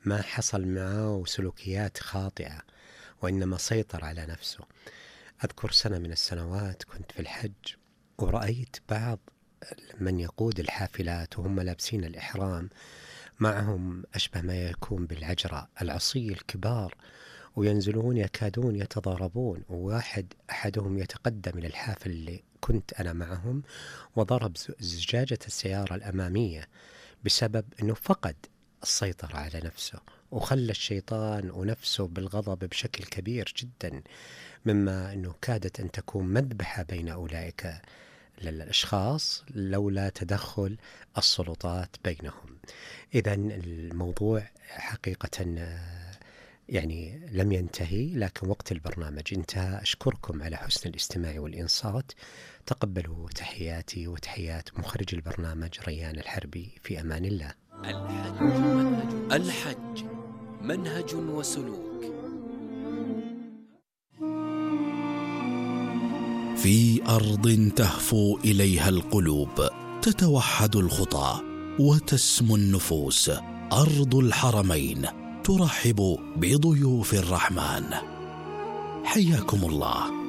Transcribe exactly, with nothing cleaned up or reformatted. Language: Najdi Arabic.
ما حصل معه سلوكيات خاطئة، وإنما سيطر على نفسه. أذكر سنة من السنوات كنت في الحج، ورأيت بعض من يقود الحافلات وهم لابسين الإحرام، معهم أشبه ما يكون بالعجرة العصي الكبار، وينزلون يكادون يتضاربون، وواحد أحدهم يتقدم إلى الحافل اللي كنت أنا معهم وضرب زجاجة السيارة الأمامية بسبب أنه فقد السيطرة على نفسه، وخلى الشيطان ونفسه بالغضب بشكل كبير جدا، مما أنه كادت أن تكون مذبحة بين أولئك الأشخاص لولا تدخل السلطات بينهم. إذن الموضوع حقيقة يعني لم ينتهي، لكن وقت البرنامج انتهى. أشكركم على حسن الاستماع والإنصات. تقبلوا تحياتي وتحيات مخرج البرنامج ريان الحربي. في أمان الله. الحج منهج, الحج منهج وسلوك. في أرض تهفو إليها القلوب، تتوحد الخطى وتسمو النفوس، أرض الحرمين ترحب بضيوف الرحمن. حياكم الله.